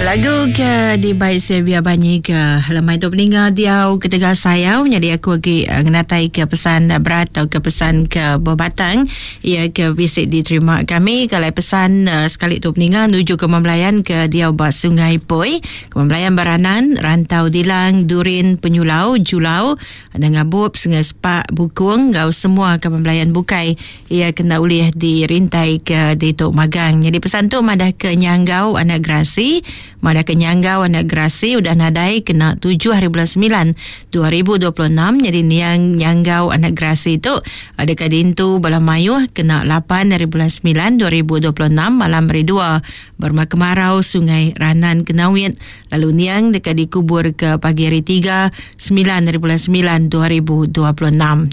Lagu ke dibai Sevia Banyi ke lemai tu peninga diau ketegal sayau nyadi aku agi eh, ngenatai ke pesan berat atau ke pesan ke bebatang ia ke bisi diterima kami kalau pesan eh, sekali tu peninga nuju ke Mambelayan ke diau ba Sungai Poi ke Mambelayan Baranan Rantau Dilang Durin Penyulau Julau Nengah bup Sungai Sepak Bukung enggau semua kaban belayan bukai iya kena ulih dirintai ke ditu magang. Nyadi pesan tu madah ke Nyanggau anak Gerasi, madah ke Nyanggau anak Gerasi udah nadai kena tujuh hari bulan semilan 2026 nyadi niang Nyanggau anak Gerasi tu deka diintu bala mayuh kena lapan hari bulan semilan 2026 malam hari dua berumah kemarau Sungai Ranan Kenawit Lalu niang deka dikubur ke pagi hari Tiga, semilan ari bulan semilan 2026.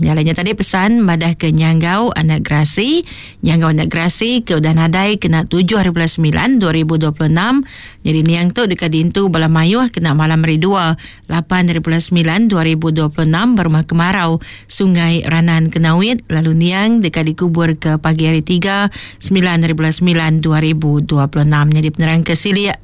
Nya alai nya tadi pesan madah ke Nyanggau anak Gerasi, Nyanggau anak Gerasi ke udah nadai kena tujuh ari bulan semilan 2026. Nyadi niang tu deka diintu bala mayuh kena malam hari Dua, lapan ari bulan semilan 2026 ba Rumah Kemarau, Sungai Ranan Kenawit lalu niang deka dikubur ke pagi hari Tiga, semilan ari bulan semilan 2026. Nyadi penerang ke silik.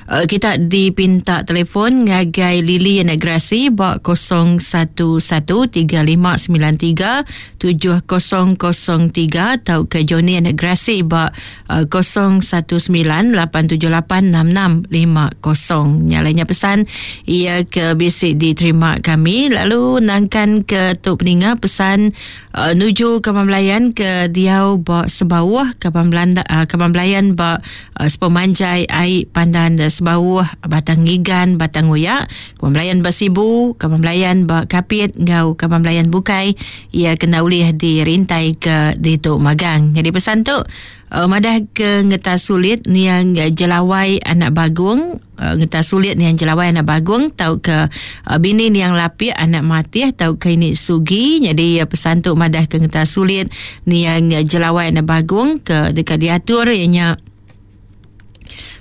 Uh, kita dipinta telefon ngagai Lily Anak Gerasi ba 0113593703 atau ke Johnny Anak Gerasi ba uh, 0198786650. Nyalainya pesan ia ke bisi diterima kami lalu nangkan ke tu peninga pesan uh, nuju kaban belayan ke diau ba Sebauh kaban Belanda uh, kaban belayan ba Sepemanjai ai Pandan Sebauh, Batang Ngigan, Batang Uyak, Kaban Belayan ba Sibu, Kaban Belayan ba Kapit enggau Kaban Belayan bukai iya kena ulih dirintai ke ditu magang. Nyadi pesan tu madah ke ngetas sulit niang Jelawai anak Bagong Ngetas sulit niang Jelawai anak Bagong tauka bini niang Lapik anak Matih tauka ini Sugi. Nyadi pesan tu madah ke ngetas sulit niang Jelawai anak Bagong ke deka diatur iya nya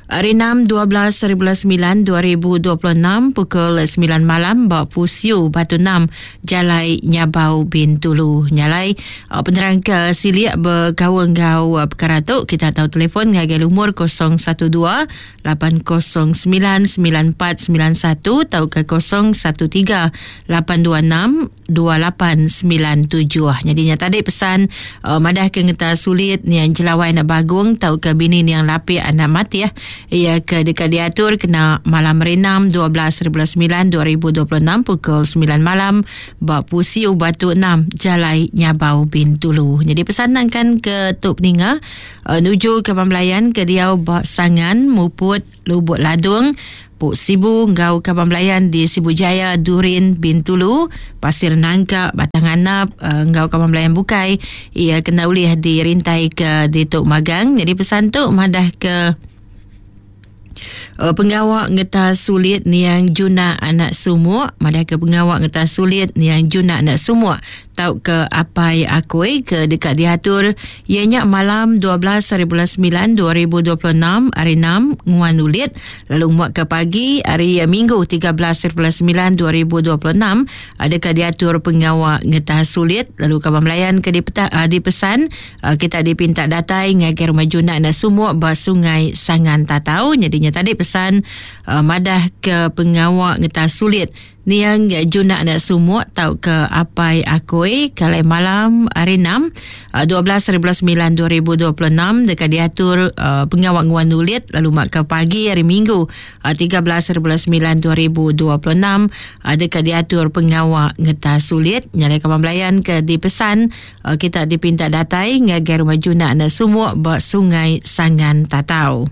hari 6 12 hari bulan 9 2026 pukul 9 malam ba Pusiu Batu 6 Jalai Nyabau Bintulu. Nya alai penerang ke silik bekaul enggau perkara tu kita tau telefon ngagai lumur 012 8099491 tauka 013 826 2897. Nyadi nya tadi pesan uh, madah ke ngeta sulit niang Jelawai anak Bagong tauka bini niang Lapik anak Matih ia ke deka diatur kena malam hari 6 12 9 2026 pukul 9 malam ba Pusiu Batu 6 Jalai Nyabau Bintulu. Nyadi pesan nangkan ke tu peninga Nuju ke Kaban Belayan ke diau ba Sangan, Muput, Lubuk Ladung, Puk Sibu enggau Kaban Belayan di Sibu Jaya, Durin, Bintulu, Pasir Nangka, Batang Anap enggau Kaban Belayan bukai iya kena ulih dirintai ke ditu magang. Nyadi pesan tu madah ke Pengawa ngetas sulit niang Juna anak Sumuk madahka pengawa ngetas sulit niang Juna anak Sumuk tauka apai akui ke deka diatur iya nya malam 12 hari bulan 9 2026 hari 6 nguan ulit lalu muak ke pagi hari Minggu 13 hari bulan 9 2026 deka diatur pengawa ngetas sulit lalu kaban belayan ke dipeta, dipesan Kita dipinta datai ngagai Rumah Juna enda sumuk ba Sungai Sangan Tatau. Nyadi nya tadi pesan madah ke pengawa ngetas sulit niang Juna enda sumuk tauka apai akui kalai malam hari 6 12 hari bulan 9 2026 deka diatur pengawa nguan ulit lalu mak ke pagi hari Minggu 13 hari bulan 9 2026 deka diatur pengawa ngetas sulit. Nya alai kaban belayan ke dipesan Kita dipinta datai ngagai Rumah Juna enda sumuk ba Sungai Sangan Tatau.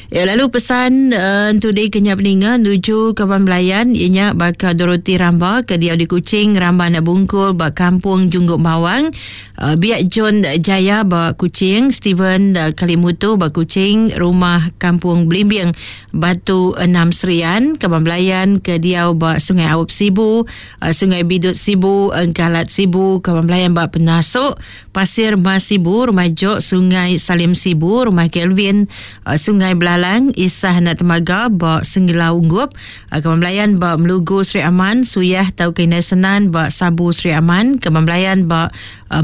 Ya, lalu pesan uh, entudi ke nya peninga nuju kaban belayan iya nya baka Dorothy Ramba ke diau di Kuching Ramba anak Bungkul ba Kampung Jungguk Bawang uh, Biak John Jaya ba Kuching Steven uh, Kalimutu ba Kuching Rumah Kampung Belimbing Batu Enam Serian kaban belayan ke diau ba Sungai Aup Sibu Sungai Bidut Sibu, Engkalat Sibu, Kaban Belayan ba Penasuk, Pasir Mas Sibu, Rumah Jok, Sungai Salim Sibu, Rumah Kelvin, Sungai Belalai. Salang, Isah anak Temaga ba Senggelau Unggup, Kaban Belayan ba Melugu Sri Aman, Suyah tauka Indai Senan ba Sabu Sri Aman, Kaban Belayan ba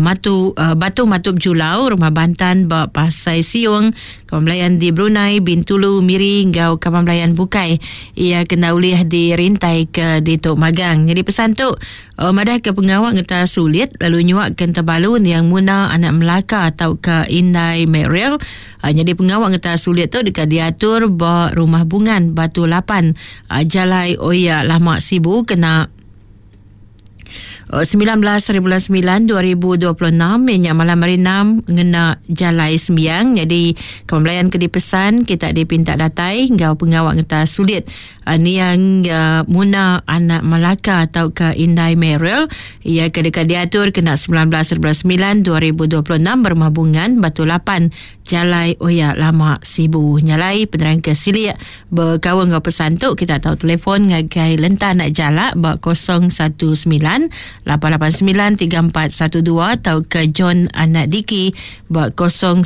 Matu Batu Matup Julau, Rumah Bantan ba Pasai Siung, Kaban Belayan di Brunei, Bintulu, Miri enggau kaban belayan bukai iya kena ulih dirintai ke ditu magang. Nyadi pesan tu Madahka pengawa ngetas sulit lalu nyuaka entebalu niang Muna anak Melaka tauka Indai Meryl. Nyadi pengawa ngetas sulit tu deka diatur ba Rumah Bungan Batu 8, Jalai Oya Lama Sibu kena 19 hari bulan 9 2026 iya nya malam hari 6 ngena jalai sembiang. Nyadi kemelayan ke dipesan kita dipinta datai enggau pengawa ngetas sulit Niang Muna anak Malaka tauka Indai Meryl iya ke deka diatur kena 19.9 2026 Berumah Bungan Batu 8 Jalai Oya Lama Sibu. Nya alai penerang ke silik bekaul enggau pesan tu kita tau telefon ngagai Lenta anak Jalak ba 019 889 3412 tauka John anak Diki ba 013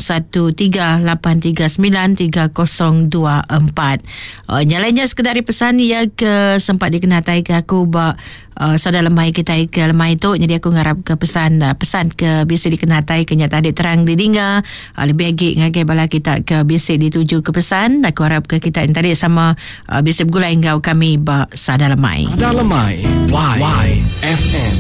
839 3024. Uh, nya lain nya sekedar pesan ia ke sempat dikenatai ke aku ba uh, sada lemai kita ke lemai tu jadi aku ngarap ke pesan uh, pesan ke bisi dikenatai ke nya tadi terang didinga uh, lebih lagi ngagai bala kita ke bisi dituju ke pesan aku harap ke kita yang tadi sama uh, bisi bergulai enggau kami ba sada lemai. Sada lemai Y, Y FM.